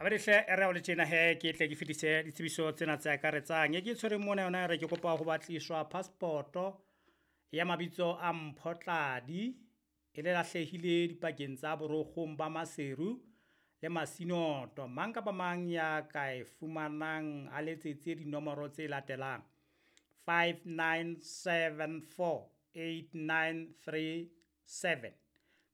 Abedihle e re o le tjena he ke tle ke fetise ditsebiso tsena tse akaretsang. E ke tshwereng mona yona e re ke kopa ho batliswa passport-o ya mabitso a Mphotladi e le lahlehile dipakeng tsa borokgong ba Maseru le Masinoto. Mang kapa mang ya ka e fumanang a letsetse dinomoro tse latelang 59748937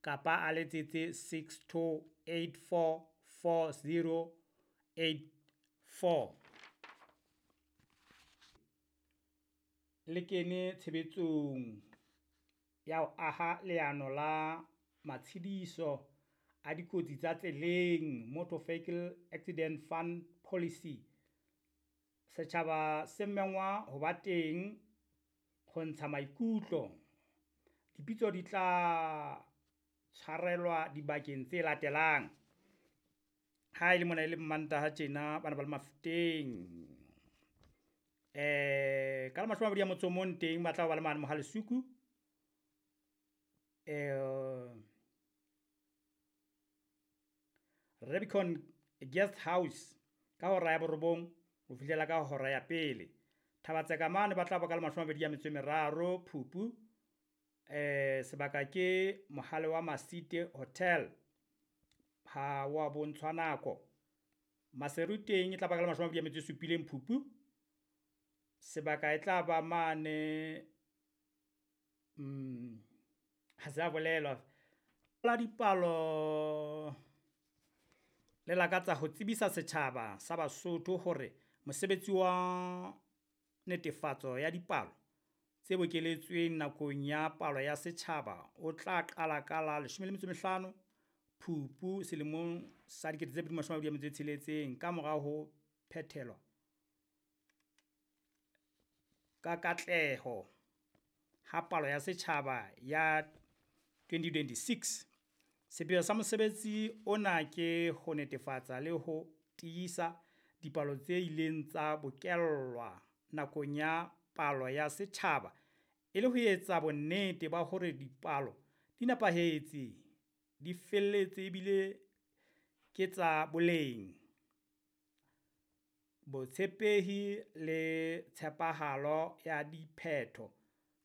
kapa a letsetse 62844084. Le kene tshebetsong ya ho aha leano la matshediso a dikotsi tsa tseleng, Motor Vehicle Accident Fund Policy. Setjhaba se mengwa ho ba teng ho ntsha maikutlo. Dipitso di tla tshwarelwa dibakeng tse latelang. Ha e le mona e le Mmantaha tjena bana ba le Mafeteng. Ka la 21 teng ba tla ba le mane Mohale'Soku. Rubicon Guest House ka hora ya 9 ho fihlela ka hora ya 1. Thabatseka mane ba tla ba ka la 23 Phupu. Sebaka ke Mohale wa Masite Hotel. Ha wa bontshwa nako. Maseru teng e tla ba ka la 27 Phupu. Sebaka e tla ba mane ha se a bolelwa. La dipalo le lakatsa ho tsebisa setjhaba sa Basotho hore mosebetsi wa netefatso ya dipalo tse bokeletsweng nakong ya palo ya setjhaba o tla qala ka la 15 Phupu selemong sa 2026 ka mora ho phethelwa ka katleho ha palo ya setjhaba ya 2026. Sepheo sa mosebetsi ona ke ho netefatsa le ho tiisa dipalo tse ileng tsa bokellwa nakong ya palo ya setjhaba e le ho etsa bonnete ba hore dipalo di nepahetse, di felletse ebile ke tsa boleng. Botshepehi le tshepahalo ya diphetho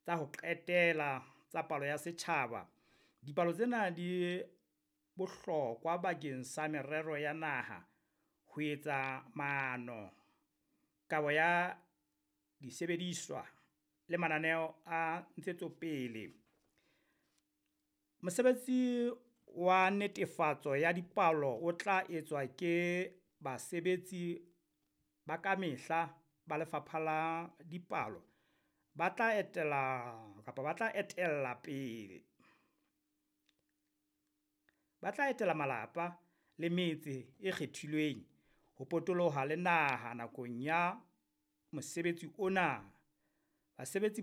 tsa ho qetela tsa palo ya setjhaba. Dipalo tsena di bohlokwa bakeng sa merero ya naha, ho etsa maano, kabo ya disebediswa le mananeo a ntshetsopele. Mosebetsi wa netefatso ya dipalo o tla etswa ke basebetsi ba kamehla ba Lefapha la Dipalo ba tla etela kapa ba tla etella pele. Ba tla etela malapa le metse e kgethilweng ho potoloha le naha nakong ya mosebetsi ona. Basebetsi